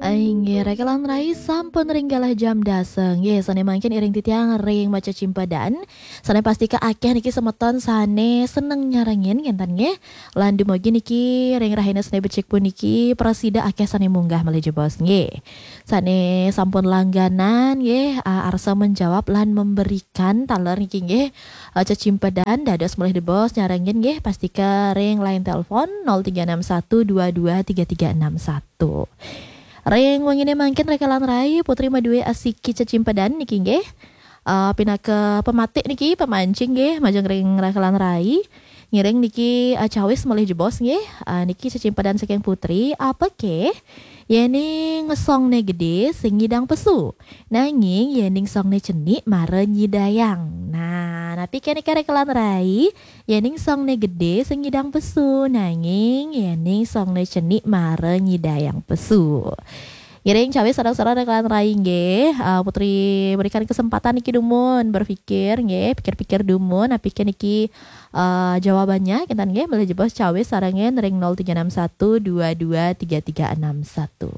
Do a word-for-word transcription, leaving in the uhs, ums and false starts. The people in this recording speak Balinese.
Inggih, reka lan rai, sampun ring galah jam dasa. Nggih, sane mangkin iring titiang ring macacimpadan. Sane pastika akeh niki semeton sane seneng nyarengin, ngenten nggih. Lan dumugi niki ring rahina sane becik puniki prasida akeh sane munggah malih jebos nggih. Sane sampun langganan nggih, a, arsa menjawab lan memberikan taler niki nggih. A, cecimpedan dados malih jebos nyarengin nggih, pastika ring line telepon nol tiga enam satu dua dua tiga tiga enam satu. Ring wengine mangkin reka lan rai, Putri madue asiki cecimpedan niki nggih. A, pinaka pematik niki, pemancing nggih, majeng ring reka lan rai. Ngiring niki, a, cawis malih jebos nggih. A, niki cecimpedan saking Putri, apa ke? Yening songne gede sing nyidang pesu. Nanging yening songne cenik mara nyidayang. Nah, napi kene reka lan rai? Yening songne gede sing nyidang pesu, nanging yening songne cenik mara nyidayang pesu. Ngiring cawis sareng-sareng reka lan rai nggih. A, Putri berikan kesempatan niki dumun berpikir nggih, pikir-pikir dumun, napi ke niki, a, jawabannya, kinten nggih, malih jebos cawis sarengan ring nol tiga enam satu dua dua tiga tiga enam satu.